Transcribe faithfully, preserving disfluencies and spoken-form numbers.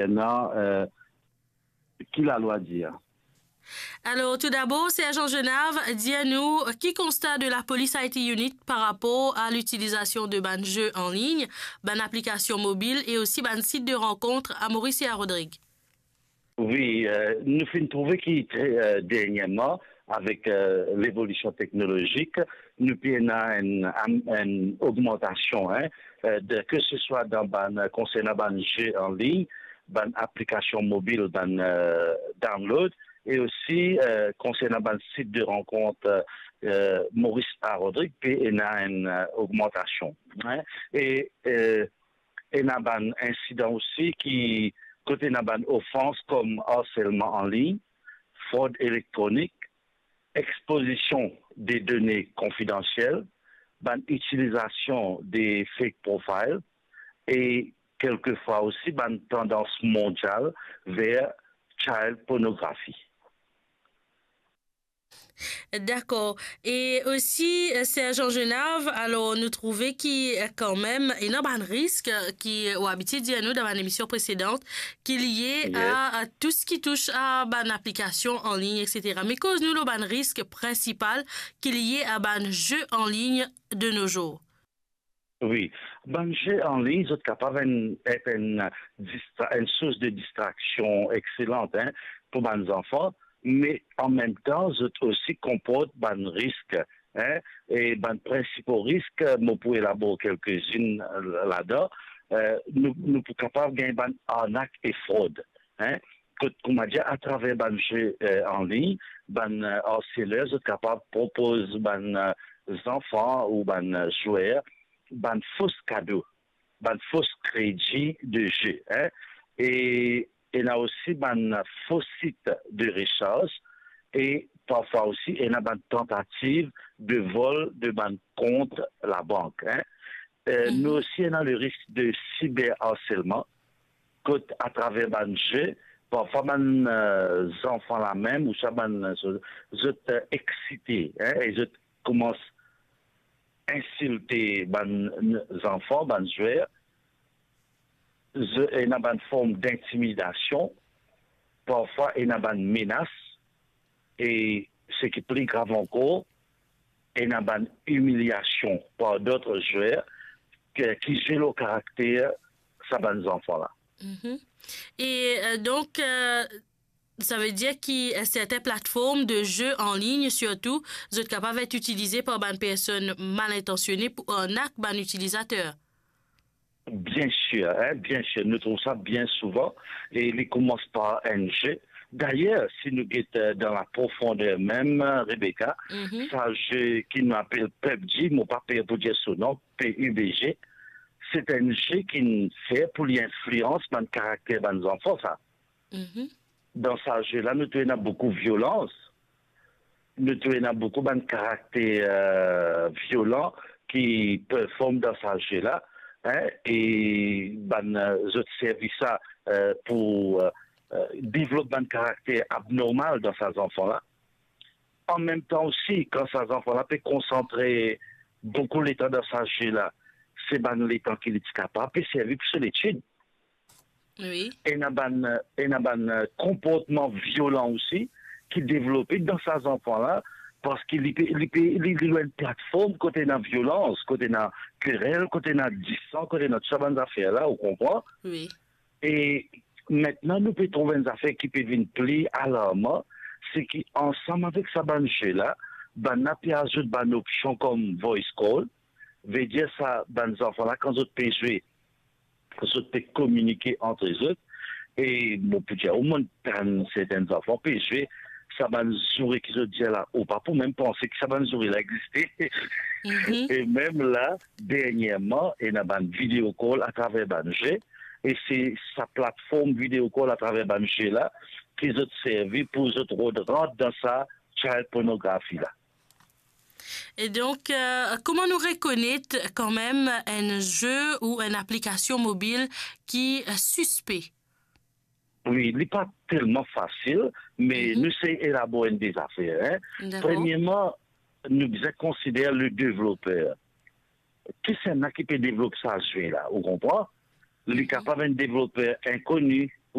Kontsernan, euh, ki lalwa dir. Alors, tout d'abord, Sergent Genave, dir nou, ki konsta de la Police I T Unit par rapport à l'utilisation de bann jeu en ligne, bann application mobile et aussi bann site de rencontre à Maurice et à Rodrigue? Wi, euh, nou finn trouve ki tre, euh, dernierman, avek, euh, levolision teknolozik, nou pe ena enn, enn, enn ogmantasion, hein, euh, de, ke se swa dan bann, konsernan bann jeu en ligne, bann aplikasion mobil, bann, euh, download, e osi, euh, konsernan bann sit de rankont, euh, Maurice a Rodrig, pe ena enn, euh, ogmantasion, hein. E, euh, ena bann insidan osi ki, kot ena bann ofans kom harselman an lign, frod elektronik, expozision de done konfidansiel, bann itilizasion de fake profile e kelkefwa osi bann tandans mondial ver child pornography. Dakor. E osi, euh, Sergent Genave, alor nou trouve ki, euh, kanmem, ena bann risk, euh, ki, euh, ou abitie dir nou dan bann emision presedan, ki lie a, a tou seki tous a bann aplikasion an lign, et cetera. Me koz nou lor bann risk prinsipal ki lie a bann jeu an lign de nos jours. Wi, bann jeu an lign, zot kapav enn, et enn distra-, enn sours de distraksion exselant, hein, pou bann zanfan, me an mem tan, zot osi konport bann risk, hein, e bann prinsipo risk, mo pou elabor kelkezinn, euh, ladan, euh, nou, nou pou kapav gagn bann arnak e frod, hein. Kot, kouma dir, atraver bann jeu, euh, an lign, bann, euh, harseler, zot kapav propoz bann, euh, zanfan ou bann, euh, zwer, bann fos kado, bann fos kredi de jeu, hein. E ena osi bann fos sit de resarz e parfwa osi ena bann tantativ de vol de bann kont labank, hein. Euh, nou osi ena le risk de siberharselman, kot atraver bann jeu, parfwa bann, euh, zanfan la mem, ouswa bann, euh, zo-, zot, euh, exsite, hein, e zot koumans insilte bann, n-, zanfan, bann zwer, zo-, ena bann form dintimidasion, parfwa ena bann menas, e seki pli grav ankor, ena bann imiliasion par dot zwer ke, ki zwe lor karakter sa bann zanfan la. Mhm. E, euh, donk, euh, savedir ki, euh, sertin platform de jeu an lign, sirtou, zot kapav et itilize par bann personn mal intansione pou arnak bann itilizater? Bien sir, hein, bien sir. Nou trouv sa bien souvan, e li koumans par enn jeu. Dayer, si nou get, euh, dan la profonder mem, Rebecca, mhm, sa jeu ki nou apel PUBG, mo pa per pou dir so non, P U B G, se enn jeu ki fer pou li inflians bann karakter bann zanfan, sa. Mhm. Dan sa jeu la, nou trouv ena boukou violans. Nou trouv ena boukou bann karakter, euh, violan ki perform dan sa jeu la, hein, e bann, euh, zot servi sa, euh, pou, euh, euh, devlop bann karakter abnormal dan sa zanfan la. An mem tan osi, kan sa zanfan la pe konsantre boukou letan dan sa jeu la, se bann letan ki li ti kapav pe servi pou so letid. Wi. Ena bann, ena bann, euh, konportman violan osi ki devlope dan sa zanfan la, parski li pe, li pe, li, li lor enn platform kot ena violans, kot ena kerel, kot ena disan, kot ena tou sa bann zafer la, ou konpran? Wi. E aster nou pe trouv enn zafer ki pe vinn pli alarman, se ki ansam avek sa bann jeu la, bann la pe azout bann opsion kom voice call, vedir sa bann zanfan la, kan zot pe zwe, zot pe kominike ant zot. E mo pou dir, mo tann sertin zanfan pe zwe, sa bann zoure ki zot dir la, ou pa pou mem panse ki sa bann zoure la existe. Mhm. E mem la, dernierman, ena bann video call atraver bann jeu, e se sa platform video call atraver bann jeu la ki zot servi pou zot rod rant dan sa child pornography la. E donk, euh, kouma nou rekonet kanmem enn jeu ou enn aplikasion mobil ki, euh, sispe? Wi, li pa telman fasil, me, mhm, nou sey elabor enn de zafer, hein. Dakor. Premierman, nou bizin konsider le devloper. Kisannla ki pe devlop sa jeu la, ou konpran? Li, mhm, kapav enn devloper inkoni,